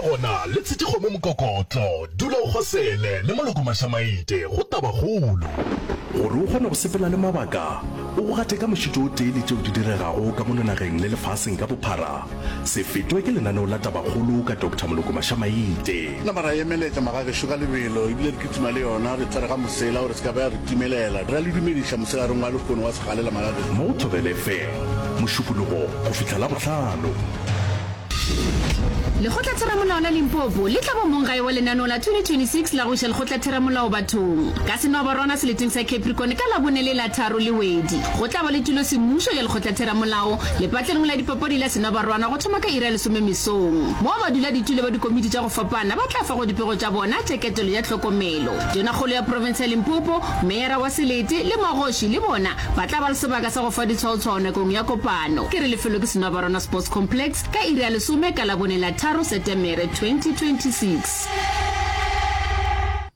gona le tshetše kgomo mokokotlo, dula o kgosele le Moloko Mašamaite go Tabakgolo. Gore o kgone go sepela le mabaka, o go gate ka mošito o tee le tšeo di diregago ka mono nageng le lefaseng ka bophara, se fetwe ke lenaneo la Tabakgolo ka Doctor Moloko Mašamaite. Nama ra emeletša magagešo ka lebelo, ebile re kitima le yona, re tshwere ga mosela gore se ka ba ya re timelela. Re a le dumediša mosegareng wa lehono wa segalela magagešo. Mo Thobela FM, Mošupologo go fihla Labohlano. Lekgotlatheramolao la Limpopo le tla ba monggae wa lenaneo la 2026 la go iša lekgotlatheramolao bathong ka Senwabarwana seleteng sa Capricorn ka Labone le la tharo Lewedi. Go tla ba le tulosemmušo ya lekgotlatheramolao lepatlelong la dipapadi la Senwabarwana go thoma ka iri ya lesome mesong, moo baduladitulo ba dikomiti tša go fapana ba tla fago dipego tša bona tša ketelo ya tlhokomelo. Tonakgolo ya profense ya Limpopo, meyara wa selete le magoši le bona ba tla ba le sebaka sa go fa ditshwaotshwao nakong ya kopano. Ke re lefelo ke Senwabarwana Sports Complex ka iri ya lesome ka Labone la tharo Setemere 2026.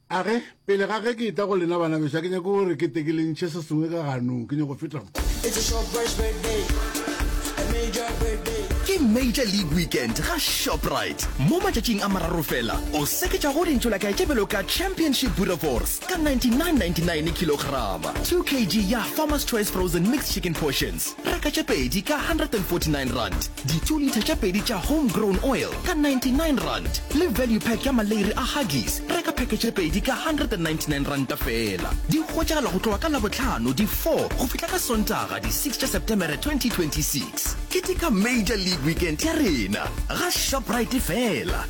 A ge, pele ga ge ke etla go lena bana bešo, ga ke nyake gore ke tle ke le ntšhe se sengwe ka ganong, ke nyako feta mo. Ke Major League Weekend ga Shoprite. Mo matšatšing a mararo fela, o seketšago dintšolakae tše bjalo ka Championship Boerewors ka 99.99 kilograma, 2 kg ya Farmer's Choice Frozen Mixed Chicken Portions, Reka tše pedi ka R149, di-two litre tše pedi tša Home Grown Oil ka R99 le value pack ya maleiri a Huggies, reka pheke tše pedi ka R199 feela. Di hwetšagala go tloga ka Labohlano di 4 go fihla ka Sontaga di 6 tša Setemere 2026. Keteka Major League Weekend ya rena ga Shoprite feela.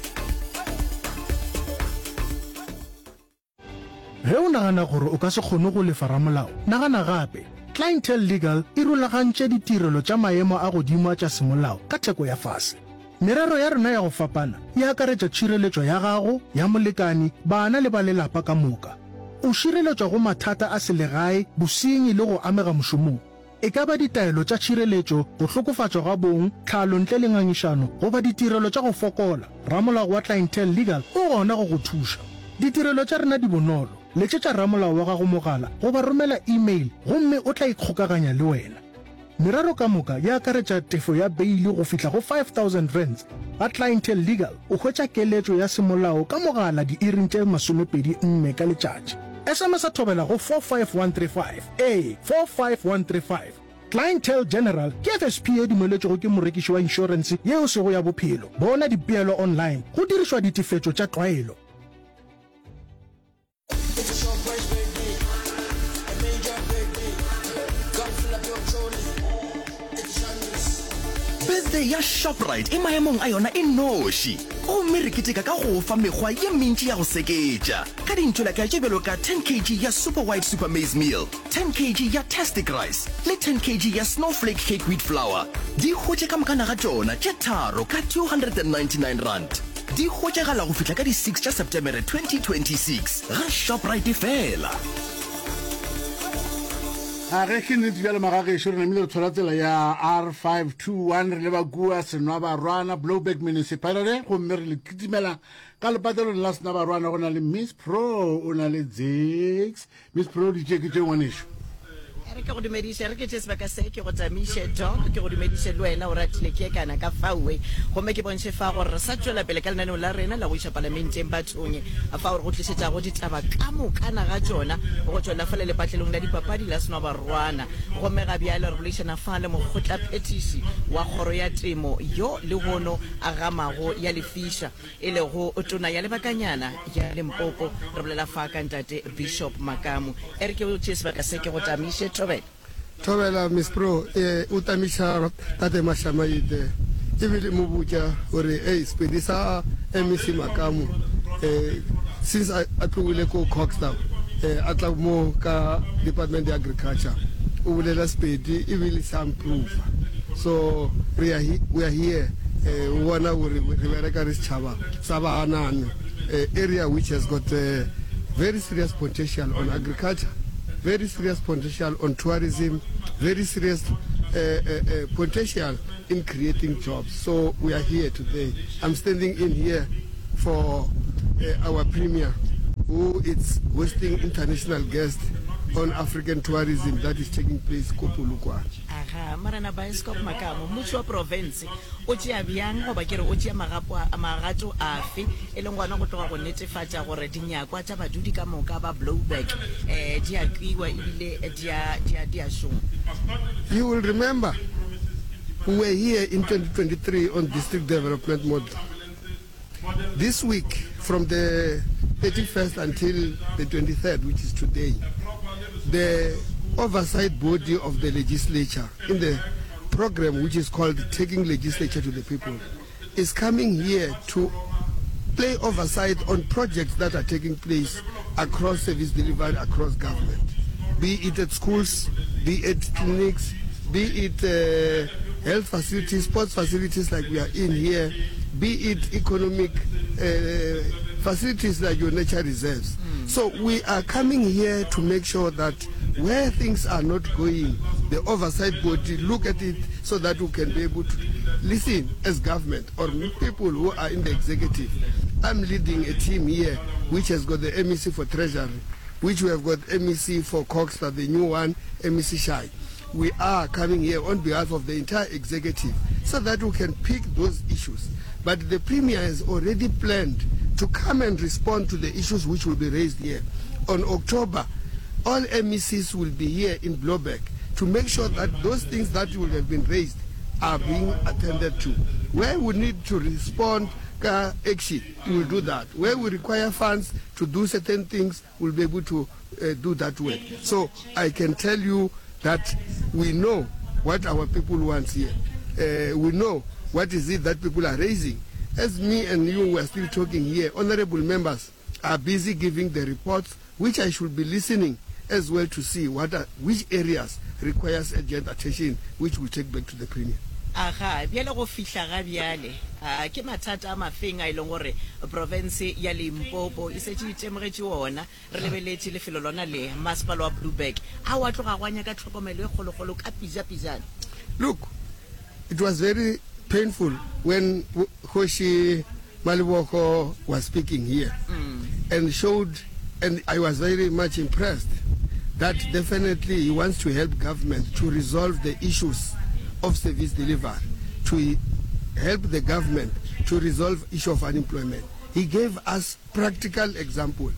Ge o nagana gore o ka se kgone go lefa ramolao, nagana gape. Clientele Legal e rulagantše ditirelo tša maemo a godimo a tša semolao ka theko ya fase. Merero ya rena ya go fapana e akaretša tšhireletšo ya gago, ya molekani, bana le ba lelapa ka moka. O šireletšwa go mathata a selegae, bosenyi le go amega mošomong. E ka ba ditaelo tša tšhireletšo, go hlokofatšwa ga bong, tlhalo ntle le ngangišano, goba ditirelo tša go fokola, ramolao wa Clientele Legal o gona go go thuša. Ditirelo tša rena di bonolo, letšetša ramolao wa gago mogala goba romela e-mail gomme o tla ikgokaganya le wena. Merero ka moka e akaretša tefo ya beili go fihla go R5000. Ga Clientele Legal o hwetša keletšo ya semolao ka mogala diiring tše 24 ka letšatši. SMS-a thobela go 45135. Ee, 45135. Clientele General ke FSP ye dumeletšwego ke morekiši wa inšorense ye e sego ya bophelo. Bona dipeelo online go dirišwa ditefetšo tša tlwaelo. Birthday ya Shoprite e maemong a yona e noši, gomme re keteka ka go fa mekgwa ye mentši ya go seketša. Ka dintšolakae tše bjalo ka 10 kg ya Super White Super Maize Meal, 10 kg ya Tastic Rice le 10 kg ya Snowflake Cake Wheat Flour, di hwetše ka mokana ga tšona tše tharo ka R299. Di hwetšagala go fihla ka di 6 tša Setemere 2026 ga Shoprite feela. A ge ke nnete bjalo magagešo, re namile re tshwara tsela ya R521 re leba kua Senwabarwana, Blouberg Municipality, gomme re le kitimela Ka lepatlelong la Senabarwana go na le Miss Pro, o na le Zix. Miss Pro, di tše ke tše ngwanešu. Re ke go dumediše, re ke tše sebaka se ke go tamiše Doc, ke go dumediše le wena o ratile ke kana ka faoe. Gomme ke bontšhe fa gore re sa tšwela pele ka lenaneo la rena la go iša palamenteng bathong fao re go tlišetšago ditaba ka mokana ga tšona go tšwela fale lepatlelong la dipapadi la Senwabarwana. Gomme ga bjale re boledišana fa le mokgotlaphethiši wa kgoro ya temo yo lehono a gamago ya lefiša. e lego tona ya lebakanyana ya Limpopo. Re bolela fa ka ntate Bishop Makamu. E re ke o tšee sebaka se ke go tamiše. Thobela. Thobela, Miss Pro, e, o tamiša tate Mashamaite ebile mo botša gore ei Sepedi sa MEC Makamu eh, since a, a tlogile ko Kokstad eh, a tla mo ka Department ya Agriculture o bolela Sepedi ebile sa improve. So re are, we are here eh, o bona gore re bereka re setšhaba sa Bahanano eh, area which has got eh, very serious potential on agriculture, very serious potential on tourism, very serious eh, eh, eh, potential in creating jobs. So we are here today. I'm standing in here for uh, our premier who is hosting international guests. on African tourism that is taking place ko Polokwane. Aga, Morena Bioscope Makamo, mmušo wa profense o tšea bjang goba ke re o tšea magapo a, magato afe e leng gona go tloga go netefatša gore dinyakwa tša badudi ka moka ba Blouberg eh, di a kwiwa ebile di a, di a, di a šoma? You will remember we were here in 2023 on district development model. This week, from the 31st until the 23rd, which is today, the oversight body of the legislature in the program which is called Taking Legislature to the People is coming here to play oversight on projects that are taking place across service delivery, across government, be it at schools, be it clinics, be it uh, health facilities, sports facilities like we are in here, be it economic uh, facilities like your nature reserves. Mm. So we are coming here to make sure that where things are not going, the oversight body look at it so that we can be able to listen as government or people who are in the executive. I'm leading a team here which has got the MEC for Treasury, which we have got MEC for Coxter, the new one, MEC Shai. We are coming here on behalf of the entire executive so that we can pick those issues. But the Premier has already planned to come and respond to the issues which will be raised here. On October, all MECs will be here in Blouberg to make sure that those things that will have been raised are being attended to. Where we need to respond ka action, we will do that. Where we require funds to do certain things, we'll be able to uh, do that work. So I can tell you that we know what our people want here. Uh, we know what is it that people are raising. As me and you were still talking here, honorable members are busy giving the reports, which I should be listening as well to see what are, which areas requires urgent attention, which will take back to the Premier. Aga, bjale go fihla ga bjale, a ke mathata a mafeng a e leng gore profense ya Limpopo e setše e itemogetše ona? Re lebeletše lefelo lona le, masepala wa Blouberg, a wa tloga gwa nyaka tlhokomelo e kgolokgolo ka pijapijana. Look, it was very painful when Kgoši Malebogo was speaking here mm. and showed, and I was very much impressed that definitely he wants to help government to resolve the issues of service delivery, to help the government to resolve issue of unemployment. He gave us practical example.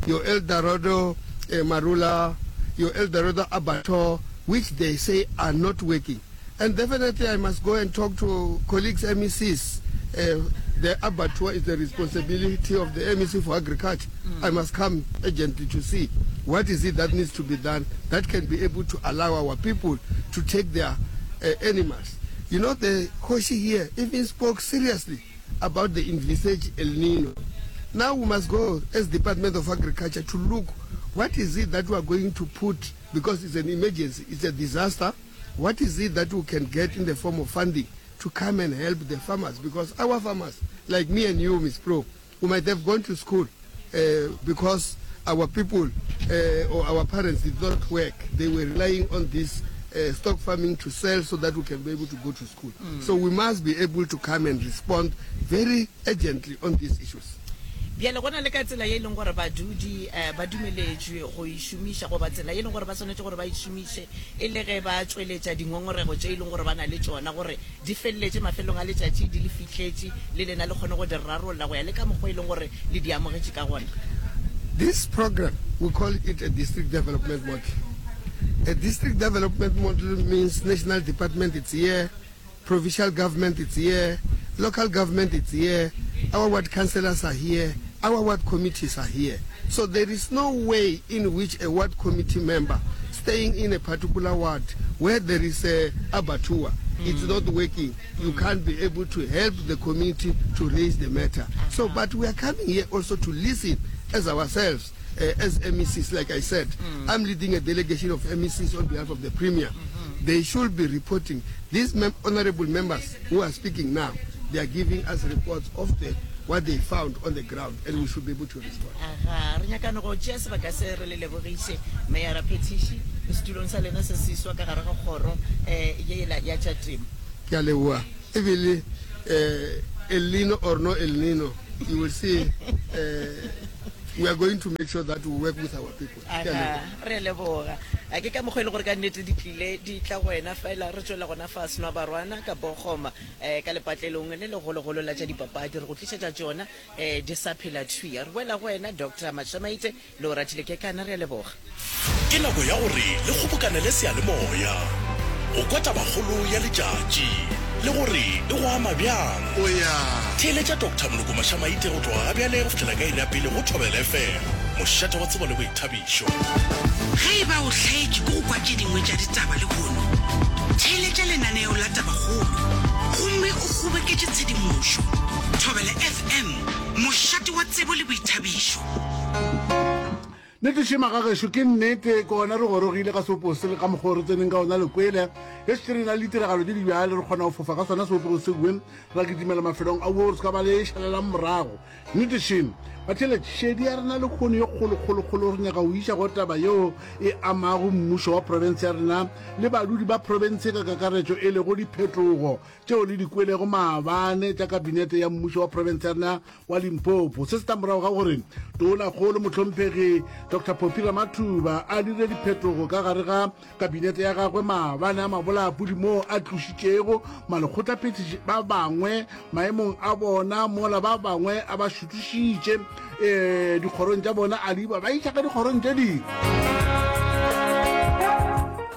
Your Eldorado eh, Marula, your Eldorado Abattoir, which they say are not working. And definitely I must go and talk to colleagues MECs. Uh, the abattoir is the responsibility of the MEC for agriculture. Mm. I must come urgently to see what is it that needs to be done that can be able to allow our people to take their uh, animals. You know, the Hoshi here even spoke seriously about the envisaged El Nino. Now we must go as Department of Agriculture to look what is it that we are going to put, because it's an emergency, it's a disaster. What is it that we can get in the form of funding to come and help the farmers? Because our farmers, like me and you, Ms. Pro, we might have gone to school uh, because our people uh, or our parents did not work. They were relying on this uh, stock farming to sell so that we can be able to go to school. Mm. So we must be able to come and respond very urgently on these issues. Bjale go na le ka tsela ye e leng gore badudi um ba dumeletšwe go e šomiša goba tsela ye e leng gore ba swanetše gore ba e šomiše e le ge ba tšweletša dingongorego tše e leng gore ba na le tšona gore di feleletše mafelong a letšatši di le fihletše le lena le kgone go di rarolla go ya le ka mokgwa e leng gore le di amogetše ka gona. This program, we call it a district development model. A district development model means national department it's here, provincial government it's here, local government it's here, our ward councillors are here, our ward committees are here. So there is no way in which a ward committee member staying in a particular ward where there is a abattoir, mm. it's not working. You mm. can't be able to help the community to raise the matter. So, but we are coming here also to listen as ourselves. Uh, as MECs, like I said, mm. I'm leading a delegation of MECs on behalf of the Premier. Mm -hmm. They should be reporting. These mem honorable members who are speaking now, they are giving us reports of the what they found on the ground and we should be able to respond. Aga, re nyakane go tšea sebaka se re le lebogiše Meyara Phetiši setulong sa lena se seswa ka gare ga kgoro um yela ya tša temo. Ke a leboga. Ebile um El Nino or no El Nino, You will see uh, we are going to make sure that we work with our people. Ke a leboga. Re a leboga. A ke ka mokgwa e le gore ka nnete di tlile di tla go wena fela re tšwela gona fa Senwa Barwana ka Bogoma um ka lepatlelong le legologolo la tša dipapadi re go tlišetša tšona um di sa phela thwi. Re boela go wena Doctor Mashamaite Le o ratile Kekana, re a leboga. Ke nako ya gore le kgobokanele seyalemoya go kwa tabakgolo ya letšatši le gore e go ama bjang. Theeletša Doctor Moloko Mashamaite go tloga ga bjale go fihlela ka iri ya pele go Thobela FM, mošate wa tsebo le boithabišo. Ge e ba o hlaetšwe ke go kwa tše dingwe tša ditaba lehono, theeletša lenaneo la Tabakgolo gomme o kgoboketše tshedimošo. Thobela FM, mošate wa tsebo le boithabišo. Nnete šema ga gešo ke nnete ke gona re gorogile ka seopo se le ka mokgwa o re tseneng ka ona lekwele ge šetše re na le ditiragalo tše di bjale re kgona go fofa ka sona seopego sewe ra kitimela mafelong a wo re se ka ba le šalelang morago nnete šem batheletši šedi ya rena lekgono ye kgolokgolokgolo re nyaka go iša go taba yeo e amago mmušo wa profense ya rena le badudi ba profense ka kakaretšo e lego diphetogo tšeo le di kwelego maabane tša Kabinete ya Mmušo wa Profense ya rena wa Limpopo. Se se tla morago ga gore Tonakgolo Mohlomphegi Doctor Phophi Ramathuba a dire diphetogo ka gare ga Kabinete ya gagwe maabane a mabolapudi moo a tlošitšego malekgotlaphethiši ba bangwe maemong a bona mola ba bangwe a ba šuthušitše um dikgorong tša bona a di ba ba iša ka dikgorong tše dingwe.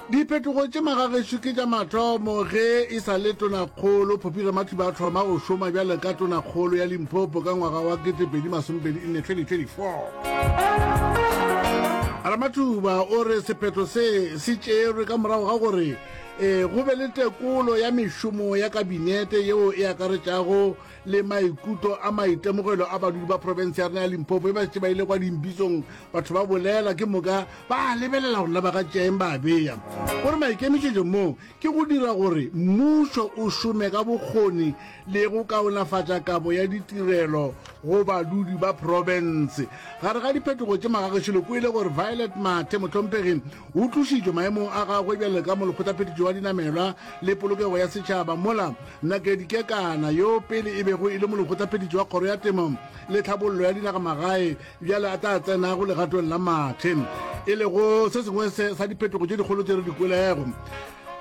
Diphetogo tše magagešo ke tša mathomo ge e sa le Tonakgolo Phophi Ramathuba a thoma go šoma bjalo ka Tonakgolo ya Limpopo ka ngwaga wa 2024, 2024. Ramathuba o re sephetho se se tšerwe ka morago ga gore e, go be le tekolo ya mešomo ya kabinete yeo e akaretšago le maikutlo a maitemogelo a badudi ba profense ya rena ya Limpopo e ba šetše ba ile kwa dimpitsong batho ba bolela ke moka ba lebelela gore na ba ka tšeeng ba bea gore maikemišetšo moo ke go dira gore mmušo o šome ka bokgoni le go kaonafatša kabo ya ditirelo go badudi ba profense. Gare ga diphetogo tše magagešo le kwele gore Violet Mathe mohlomphegi o tlošitšwe maemong a gagwe bjalo ka molekgotlaphethiši wa dinamelwa le polokego ya setšhaba mola Nakedi Kekana yo pele e bego e le molekgotlaphethiši wa kgoro ya temo le tlhabollo ya dinagamagae bjale a tla tsenago legatong la Mathe e lego se sengwe sa diphetogo tše dikgolo tše re di kwelego.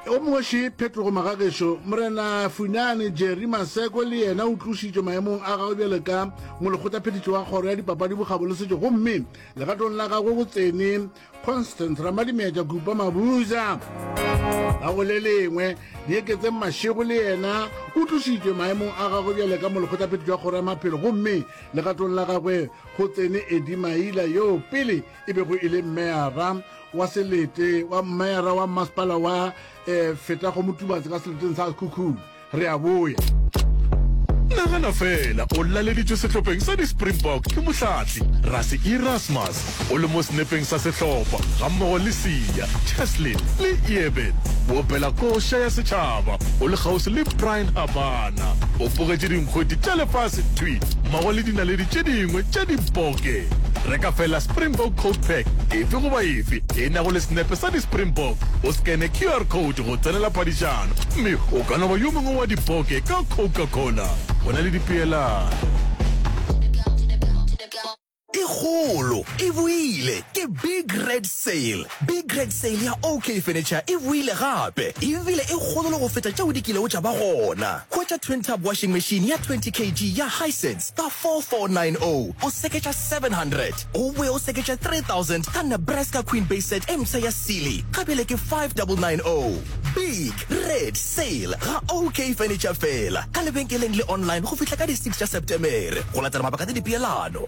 O mongwe še phetogo magagešo, Morena Funane Jerry Maseko le yena o tlošitšwe maemong a gagwe bjalo ka molekgotlaphethiši wa kgoro ya dipapadi, bokgabo le setšo gomme legatong la gagwe go tsene Constance Ramadimetša Kupa Mabuza. Ka go le lengwe, Dieketseng Mashego le yena o tlošitšwe maemong a gagwe bjale ka molekgotlaphethiši wa kgoro ya maphelo gomme legatong la gagwe go tsene Eddie Maila yoo pele e bego e le meyara wa selete wa meyara wa mmasepala wa eh, Fetago Motubatse ka seleteng sa Sekhukhune. Re a boya. Nagana feela o laleditšwe sehlopheng sa di-Springbok ke mohlahli Rassie Erasmus, o le mo senepeng sa sehlopha gammogo le Siya, Cheslin le Eben. O opela koša ya setšhaba o le kgauswi le Bryan Habana. O bogetše dinkgwete tša lefase thwi mmogo le dinaledi tše dingwe tša diboke. Reka feela Springbok Coke Pack efe goba efe e nago le senepe sa di-Springbok, o skene QR code go tsenela phadišano. Mme o ka no ba yo mongwe wa dipoke ka Coca-Cola. Go na le dipeelano. E kgolo e boile! Ke Big Red Sale! Big Red Sale ya OK Furniture e boile gape, ebile e kgolo le go feta tšeo di kilego tša ba gona. Hwetša twin tub washing machine ya 20 kg ya Hisense ka 4490, o seketša 700, o boe o seketše 3000 ka Nebraska Queen Base Set e mpsha ya Sealy, ga bjale ke 5990. Big Red Sale ga OK Furniture feela ka lebenkeleng le online go fihla ka di 6 tša Setemere go latela mabaka le dipeelano.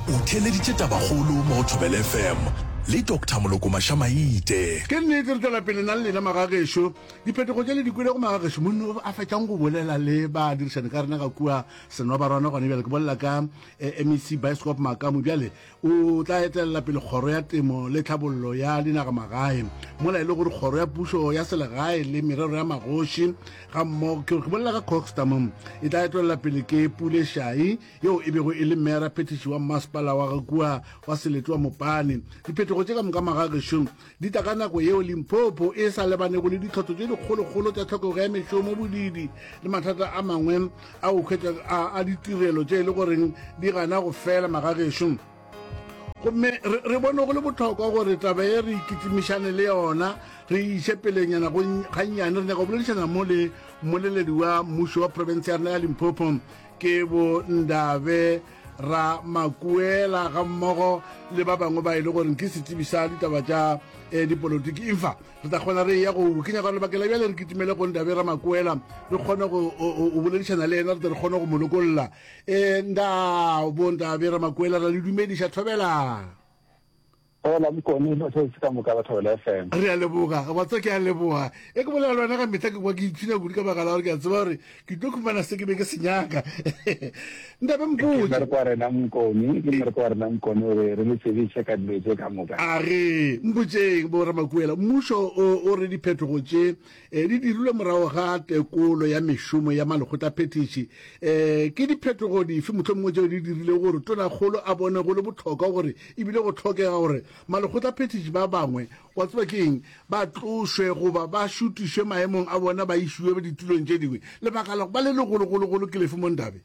O theeleditše Tabakgolo mo go Thobela FM le Doctor Moloko Mashamaite. Ke nnete re tšwela pele na le lena magagešo. Diphetogo tše le di kwelego magagešo, monna o a fetšang go bolela le badirišani ka rena ka kua Senwabarwana gona bjale, ke bolela ka eh, MEC Bioscope Makamu bjale O tla etelela pele Kgoro ya Temo le Tlhabollo ya Dinagamagae, mola e le gore Kgoro ya Pušo ya Selegae le Merero ya Magoši gammogo, ke bolela ka Coxta mo, e tla etelela pele ke Pule Shai, yeo e bego e le meyara phethiši wa mmasepala wa ga kua wa Selete wa Mopani. Diphetogo. Diphetogo tše ka moka magagešo di tla ka nako yeo Limpopo e sa lebanego le ditlhotlo tše dikgolokgolo tša tlhokego ya mešomo, bodiidi le mathata a mangwe a go hwetša a ditirelo tše e le goreng di gana go fela magagešo. Gomme re, re bone go le bohlokwa gore taba ye re ikitimišane le yona, re e iše pelenyana go gannyane. Re nyaka go boledišana mo le mmoleledi wa mmušo wa profense ya rena ya Limpopo, ke bo Ndabe Ramakuela, gammogo le ba bangwe ba e le gore ke setsebi sa ditaba tša eh, dipolotiki. Infa re tla kgona re ya go ke nyaka gore lebakeng la bjale re kitimele go Ndabe Ramakuela, re kgone go boledišana le yena, re tle re kgone go mo lokolla. E, nda bo Ndabe Ramakuela, ra le dumediša thobela. Hola Mokone, batheetši ka moka ba Thobela FM. Re a leboga, wa tseba ke a leboga. E ke bolela le wena ka mehla ke kwa ke ipshina kudu ka baka la gore ke a tseba gore ke tlo khumana se ke be ke se nyaka. Ntabe Ke mpotše. mmereko wa rena Mokone, ke mmereko wa rena Mokone gore re le tsebiše ka dilo tše ka moka. A re mpotšeng bo Ramakuela, mmušo o o re diphetogo tše E, di dirilwe morago ga tekolo ya mešomo ya malekgotlaphethiši. E, ke diphetogo dife mohlomongwe tšeo di dirilego gore Tonakgolo a bone go le bohlokwa gore e bile go hlokega gore malekgotlaphethiši ba bangwe, wa tseba ke eng, ba tlošwe goba ba šutišwe maemong a bona ba išiwe ditulong tše dingwe? Lebaka la go ba le legologologolo ke lefe mo Ndabe?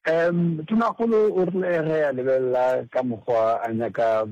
Um Tonakgolo o rile ge a lebelela ka mokgwa a nyaka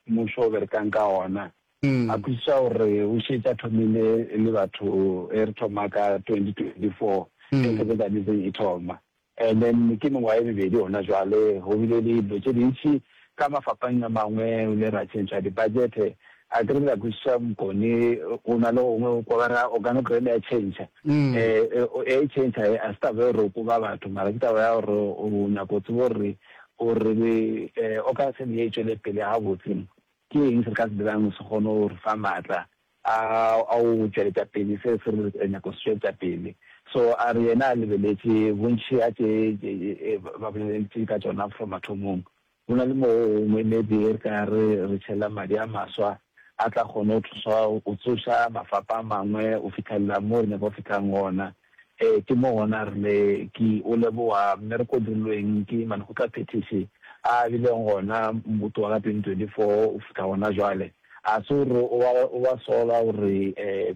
mmušo o berekang ka gona, a kwešiša gore o šetše a thomile le batho e re thoma ka 2024 ge secretarism e thoma. And then ke mengwaga e mebedi gona jwale, go bile le dilo tše dintši ka mafapeng a mangwe, re ile ra tšhentšha di-budget, A ke re la kwešiša Mokone, o na le gongwe o kwa ba re o ka no kry-a ya tšhentšha. E tšhentšha e, a se taba ya gore o koba batho, mara ke taba ya gore o nyaka go tseba gore o re o ka se ye e tšwele pele gabotse, ke eng se re ka se dirang se kgone go re fa maatla a go tšweletša pele se se re nyaka go se tšweletša pele. So a re yena a lebeletše bontši ga tše ba boleletše ka tšona from mathomong, Go na le mo gongwe maybe re ka re re tšhela madi a maswa a tla kgone go thusa go tsoša mafapa a mangwe go fitlhelela mo re nyaka go fihlang gona. Ee, ke mo gona re le ke o leboga mmereko o dirilweng ke malekgotlaphethiši a a bileng gona go tloga ka 2024 go fihla gona jwale. A se gore o ba sola gore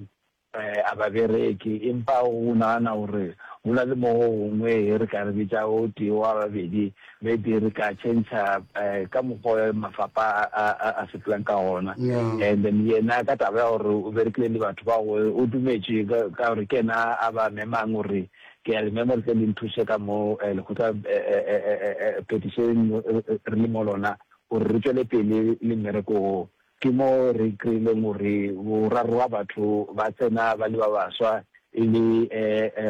A ba bereke, empa o nagana gore go na le mo go gongwe ge re ka re bitša o tee wa babedi, maybe re ka tšhentšha ka mokgwa mafapa a sepelang ka gona. And then yena ka taba ya gore o berekile le batho ba go, o dumetše ka gore ke yena a ba memang gore ke a le mema gore tle le nthuše ka mo lekgotla phetišeng re le mo lona gore re tšwele pele le mmereko wo. Ke mo re kry-ileng gore boraro ba batho ba tsena ba le ba baswa e le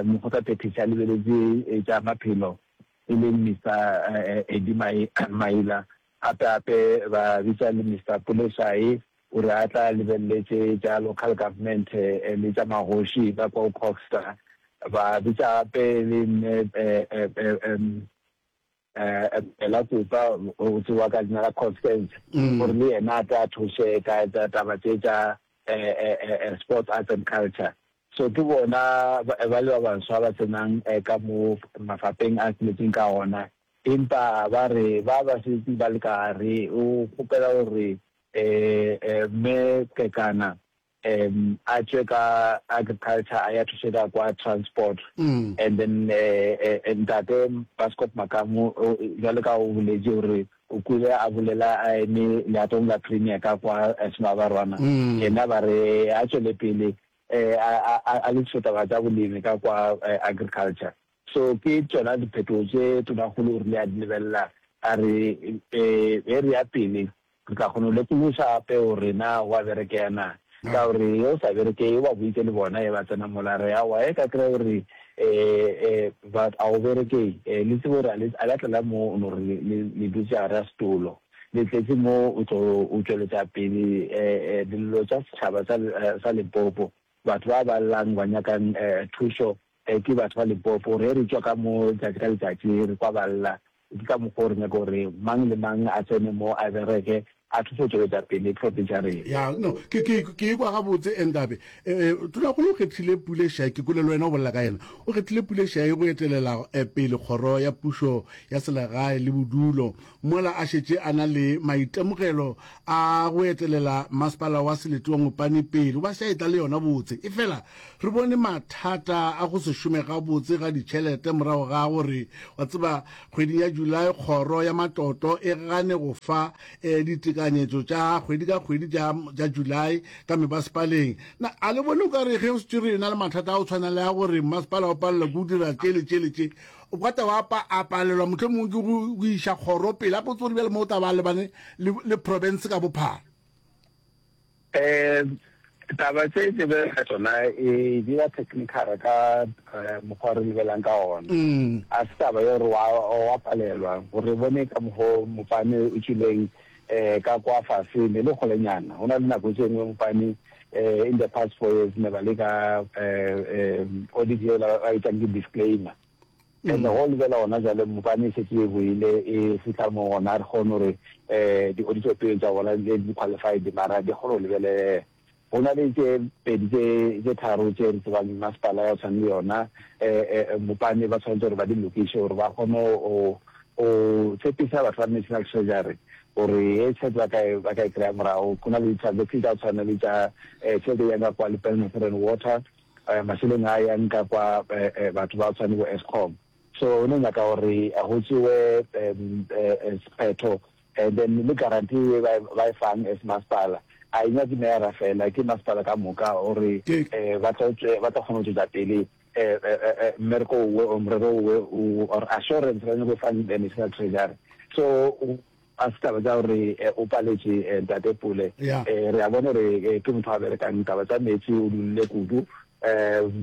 Mokgotlaphethiši a lebeletše tša maphelo e leng Mister Eddie Maila, gape gape ba bitša le Mister Pule Shayi gore a tla lebeleletše tša local government le tša magoši ka kwa Coghsta, ba bitša gape le Mme Bella Kopa o tsewa ka leina la Constance gore le yena a tle a thuše ka taba tše tša sports, arts and culture. So ke bona ba le ba baswa ba tsenang ka mo mafapeng a tsheletseng ka ona. Empa ba re ba ba setse ba le ka gare o kgopela gore Mme Kekana um a tšwe ka agriculture a ya thuše ka kwa transport mm. and then eh, eh, eh, ntate Bascop Makamu jwale ka o boletše gore o kwile a bolela a eme leatong la premier ka kwa Semabarwana mm. yena ba re a tšwele pele a lokiše taba tša bolemi ka kwa agriculture so ke tšona diphetogo tše tonakgolo o rile a di lebelela a re e re ya pele Re tla kgona go lekološa gape gore na go a berekeya na. Ka gore ge o sa berekeye, o ba boditše le bona ge ba tsena mola, re aowa, ge ka kry-a gore ba a go berekeye, le tsebe gore a le a la tlela mo no re le le dutše gare ga setolo. Le tletše mo o tlo o tšweletša pele dillo tša setšhaba sa sa Limpopo. Batho ba ba llang ba nyakang thušo ke batho ba Limpopo. Ge re tšwa ka mo letšatši ka letšatši re kwa ba lla, Ke ka mokgwa o re nyaka gore mang le mang a tsene mo a bereke. a thuse go tšweletša pele province ya rena. Ya, no, ke, ke, ke ikwa gabotse, Endabe. E, e, Tonakgolo o kgethile Pule Shayi, ke kwele le wena o bolela ka yena. O kgethile Pule Shayi go etelela e, pele kgoro ya pušo ya selegae le bodulo, mola a šetše a na le maitemogelo a go etelela masepala wa selete wa Mopani pele. O ba se a etla le yona botse. Efela re bone mathata a go se šome gabotse ga ditšhelete morago ga gore, wa tseba, kgweding ya July kgoro ya matlotlo e gane go fa e ditekanyetšo tša kgwedi ka kgwedi tša tša July ka mebasepaleng. Na a le bone o ka re ge o šetše re na le mathata a go tshwana le a gore mmasepala o palelwa ke go dira tše le tše le tše, o ka taba a a palelwa mohlomongwe ke go go iša kgoro pele, a potse gore bjale mo o tla ba a lebane le le province ka bophara? Um taba tše tše be tsona e di ba technical ka eh, mokgwa re lebelang ka ona mm. a se taba ya gore wa palelwa gore bone ka mokgwa mopane o tšwileng um ka kwa fase ne le kgolenyana go na le nako tše nngwe mopane um in the past four years ne ba le ka um audit eo ba etsang ke disclaimer And go lebela gona jale mopane e šetše e boile e fihla mo gona re kgone gore um di-audit opinion tša bona di di qualified mara di kgone go lebelelega. Go na le tše pedi tše tše tharo tše re tsebang masepala ya go tshwana le yona um mopane ba tshwanetse gore ba di lokiše gore ba kgone go go tshepisa batho ba National Treasury gore ye tšhelete ba ka e ba ka e kry-a morago. Go na le di-transaction tša go tshwana le tša tšhelete e yang ka kwa Lepelle Northern Water mašeleng a yang ka kwa batho ba tshwane bo Eskom. So no nyaka gore go tšewe sephetho and then le guarantee e ba e fang as masepala a e nyake meyara fela, ke masepala ka moka gore ba tlo ba tlo kgona go tšwetša pele mmereko owe or morero owe or assurance ba nyako fang National Treasury. So A se taba tša gore o paletše Ntate Pule. Re a bona gore ke motho a berekang taba tša meetse o dulile kudu.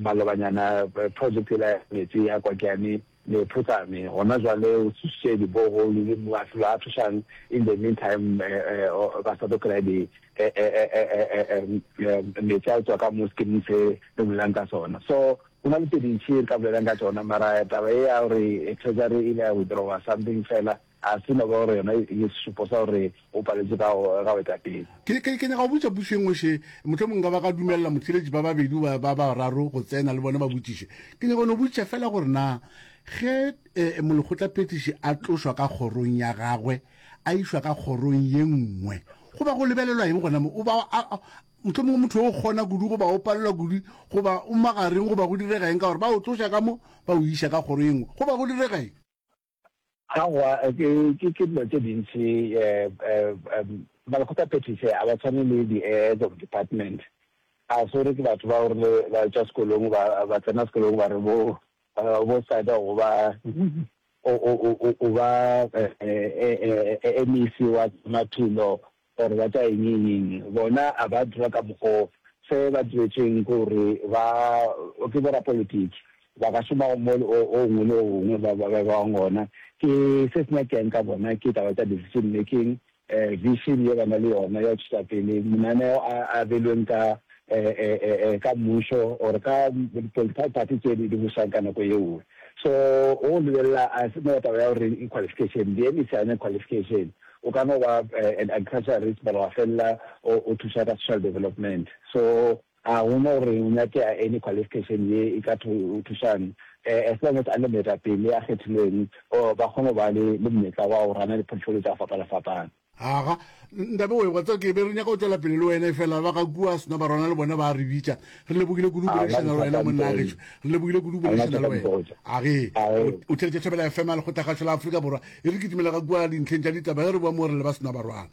Malobanyana project yela ya meetse ya Kwakeane le Phutsane gona jwale o tsošitše di borehole le mafelo a thušang in the meantime ba sa tlo kry-a di meetse a tswa ka mo schemeng se re bolelang ka sona. So go na le tse dintši re ka bolelang ka tšona mara taba ye ya gore treasury e ile ya withdrawer something fela A se no ba gore yona e ke sešupo sa gore o paletše ka go ka go eta pele. Ke, ke, ke nyaka go botša pušo e nngwe še, mohlomongwe nka ba ka dumelela motheeletši ba babedi goba ba bararo go tsena le bona ba botšiše. Ke nyaka go no botšiša feela gore na ge eh, molekgotlaphethiši a tlošwa ka kgorong ya gagwe a išwa ka kgorong ye nngwe, go ba go lebelelwa eng gona mo? O ba a, a, mohlomongwe motho o kgona kudu goba o palelwa kudu goba o magareng goba go direga eng ka gore ba o tloša ka mo ba o iša ka kgoro ye nngwe, go ba go direga eng? Aowa, ke, ke, ke dilo tše dintši. Um, Balekgotlaphethiši ga ba tshwane le di-heads of department. A se gore ke batho ba gore ba tšwa sekolong ba, ba tsena sekolong ba re bo, bo side go ba, o, o, o, o ba MEC wa maphelo or ba tša eng eng eng. Bona a ba dira ka mokgo se ba diretšweng ke gore ba ke borapolotiki ba ka šoma mo o ngwe le o ngwe ba ba bang gona. Ke se se nyakeng ka bona ke taba tša decision making, vision ye ba na le yona ya go tšwetša pele mananeo a a beilweng ka ka mmušo or ka di-political party tše di bušang ka nako yeo. So o lebelela a se no taba ya gore qualification, di-MEC ga e na qualification. O ka no ba an agriculturalist mara wa felela o thuša ka social development. So ga go no gore o nyakega any qualification ye e ka thušang as long as a le moetapele a kgethilweng ba kgone go ba le monyetla wa go rana di-portfolio tša go fapana-fapana. Aga, Ntabe oe, wa tseba ke be re nyaka go tšwela pele le wena efela ba ga kua Senobarwana le bona ba re bitša. Re lebogile kudu go boledišana le wena monna gešo. Re lebogile kudu go boledišana le wena. Age, o theletše Thobela FM ya Lekgotlakgašo la Afrika Borwa. E re kitimela ka kua dintlheng tša ditaba ge re boa mo re leba Senobarwana.